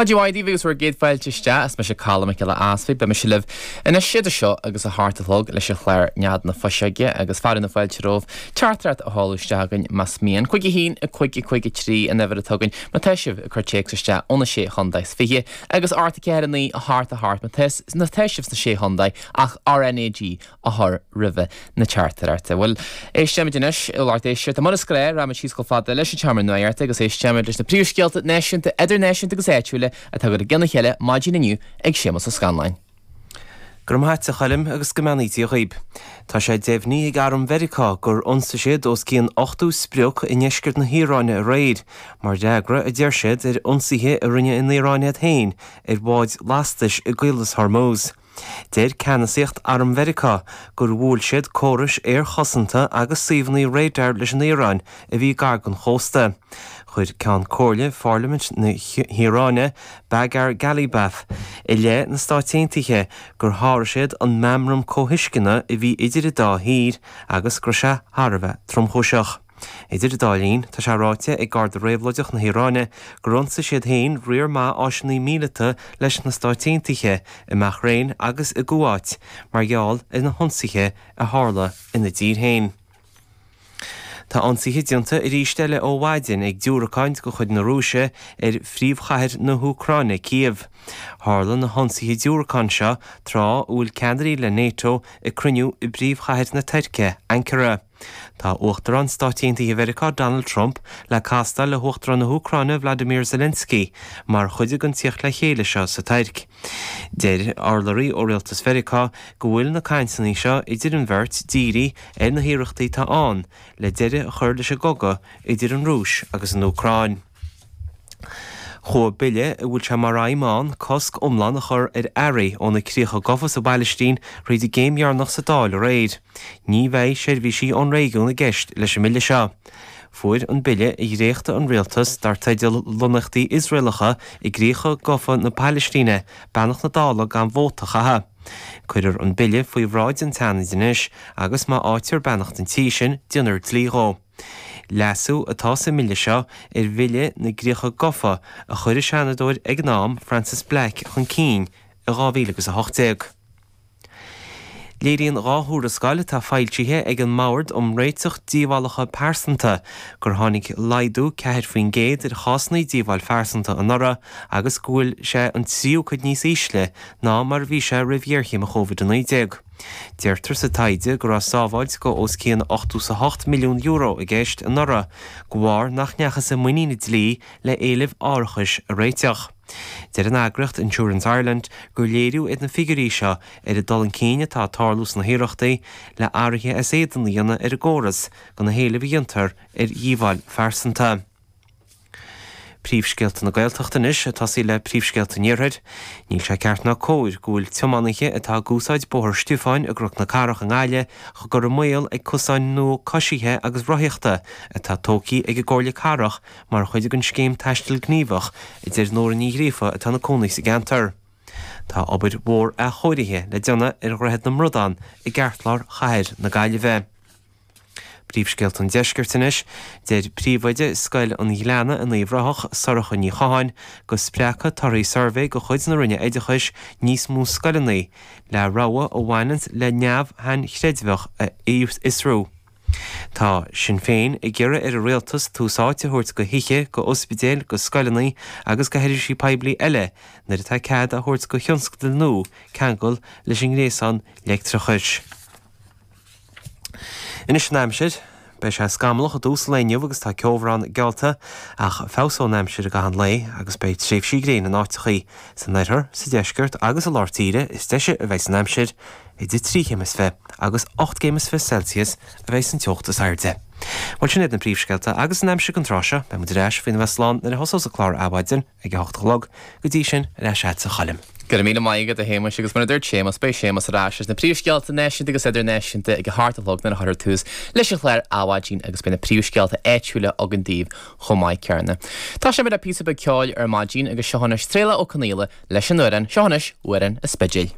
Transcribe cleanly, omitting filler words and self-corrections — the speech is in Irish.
Maidin mhaith daoibh agus bhur gcéad fáilte isteach. Is mise Colm Mac Giolla Easpaig. Beidh mise libh anois idir seo agus a hocht a chlog leis an chlár Nead na Fuiseoige agus fearadh na fáilte romhaibh teachtaireacht a sheoladh isteach chugainn más mian. 5 1 5 5 3 an uimhir atá againn má tá sibh ag cur téacs isteach ó na Sé Chontae is Fiche agus 8 4 9 8 8 má tá sibh sna Sé Chontae ach RnaG a chur roimhe na teachtaireachta. Bhuel, éistfimid anois, a lucht éisteachta, mar is gnáth, rachaimid síos chomh fada leis an tseomra nuachta agus éistfimid leis na príomhscéalta náisiúnta, idirnáisiúnta agus áitiúla atá curtha i gcionn a chéile maidin inniu ag Séamus Ó Scanláin. Go raibh maith a't, a Choilm, agus go mbeannaí Dia dhaoib. Tá sé deimhnithe ag Arm Mheiriceá gur ionsaigh siad os cionn 80 sprioc i ndeisceart na hIaráine aréir, mar fhreagra, a deir siad, ar ionsaithe a rinne an Iaráin iad féin ar bháid lastais i gCaolas Hormuz. Deir ceannasaíocht Arm Mheiriceá gur bhuail siad córais aerchosanta agus suíomhanna radar leis an Iaráin a bhí gar don chósta. Chuir Ceann Comhairle Pharlaimint na hIaráine, Bagher Ghalibaf, i leith na Stáit Aontaithe gur sháraigh siad an meamram comhthuisceana a bhí idir an dá thír agus go raibh sé thar a bheith tromchúiseach. Idir an dá linn, tá sé ráite ag Garda Réabhlóideach na hIaráine gur ionsaigh siad féin riar maith áiseanna míleata leis na Stáit Aontaithe i mBeathréin agus i gCuáit mar gheall ar na hionsaithe a tharla ina dtír féin. Tá ionsaithe déanta arís eile ó mhaidin ag diúracáin de chuid na Rúise ar phríomhchathair na hÚcráine, Cív. Tharla na hionsaithe diúracán seo tráth a bhfuil ceannairí le Nato ag cruinniú i bpríomhchathair na Tuirce, Ankara. Tá Uachtarán Stáit Aontaithe Mheiriceá Donald Trump le castáil le hUachtarán na hÚcráine Vladimir Zelensky mar chuid den tíocht le chéile seo sa Tuirc. Deir urlabhraí ó Rialtas Mheiriceá go bhfuil na cainteanna seo idir an bheirt dírithe ar na hiarrachtaí atá ann le deireadh a chur leis an gcogadh idir an Rúis agus an Úcráin. Chuaigh bille a bhfuil sé mar aidhm ann cosc iomlán a chur ar earraí ó na Críocha Gafa sa bPailistín thríd an gcéim dheireanach sa Dáil aréir. Ní bheidh seirbhísí ón réigiún i gceist leis an mbille seo. Fuair an bille a dhréachtaigh an rialtas dar teideal Lonnaíochtaí Iosraelacha i gCríocha Gafa na Pailistíne beannacht na Dála gan vóta a chaitheamh. Cuirfear an bille faoi bhráid an tSeanaid anois agus má fhaightear beannacht an tí sin déanfar dlí dhó. Leasú atá sa mbille seo ar Bhille na gCríocha Gafa a chuir an Seanadóir ag an am, Frances Black, chun cinn i 2018. Léiríonn 2 thuarascáil atá foilsithe ag an mBord um Réiteach Díobhálacha Pearsanta gur tháinig laghdú 4% ar chásanna díobháil phearsanta anuraidh agus go bhfuil sé an tríú cuid níos ísle ná mar a bhí sé roimh ghéarchéim Covid-19. Deirtear sa taighde go raibh sábháilt de os cionn €88 milliún i gceist anuraidh de bharr nach ndeachthas i muinín an dlí le éilimh árachais a réiteach. Deir an eagraíocht Insurance Ireland gur léiriú iad na figiúirí seo ar an dul chun cinn atá ag tarlú sna hiarrachtaí le athruithe as éadan a dhéanamh ar an gcóras do na héilimh a dhéantar ar dhíobháil phearsanta. Príomhscéalta na Gaeltachta anois, ag tosaí le príomhscéalta an Iarthair. Níl sé ceart ná cóir go bhfuil tiománaithe atá ag úsáid Bóthar Stiofáin i gCnoc na Cathrach i nGaillimh á gcur i mbaol ag cosáin nua coisithe agus rothaíochta atá tógtha ag an gComhairle Cathrach mar chuid den scéim Taisteal Gníomhach, a deir Nóra Ní Ghríofa atá ina cónaí sa gceantar. Tá obair mhór athchóirithe le déanamh ar Dhroichead na mBradán i gceartlár chathair na Gaillimhe. Príomhscéalta an Deiscirt anois. Deir príomhoide Scoil an Ghleanna in Uíbh Ráthach, Sorcha Ní Chatháin, go spreagfaidh torthaí suirbhé de chuid na Roinne Oideachais níos mó scoileanna le rogha a bhaineanns le neamh-shainchreidmheach a fhiosrú. Tá Sinn Féin ag iarraidh ar an Rialtas tús áite a thabhairt go thithe, go ospidéil, go scoileanna agus go sheirbhísí poiblí eile nuair atá cead á thabhairt go thionscadail nua ceangal leis an ngréasán leictreachais. Anois an aimsir. Beidh sé scamallach i dtús an lae inniu agus tá ceobhrán geallta ach feabhsóidh an aimsir i gcaitheamh an lae agus beidh tréimhsí gréine in áiteachaí. San oirthear, sa deisceart agus i lár tíre is deise a bheidh an aimsir, idir trí chéim is fi agus 8 gcéim is fi Celsius a bheidh an teocht is airde. Bhuel sin iad na príomhscéalta agus an aimsir don tráth seo. Beidh muid ar ais faoina bheith slán nuair a thosós an clár Adhmhaidin. Ag a hocht a chlog. Go dtí sin, ar ais agatsa a Choilm. Go raibh míle maith agat, a Shéamais, agus mar a dúirt Séamas, beidh Séamas ar ais leis na príomhscéalta náisiúnta agus idirnáisiúnta ag a hocht a chlog nuair a chuirfear tús leis an chlár Adhmhaidin agus beidh na príomhscéalta áitiúla againn daoibh chomh maith céanna. Tosóimid le píosa beag ceoil ar maidin agus seo anois Traolach Ó Conaola leis an amhrán, seo anois Amhrán an Spidéil.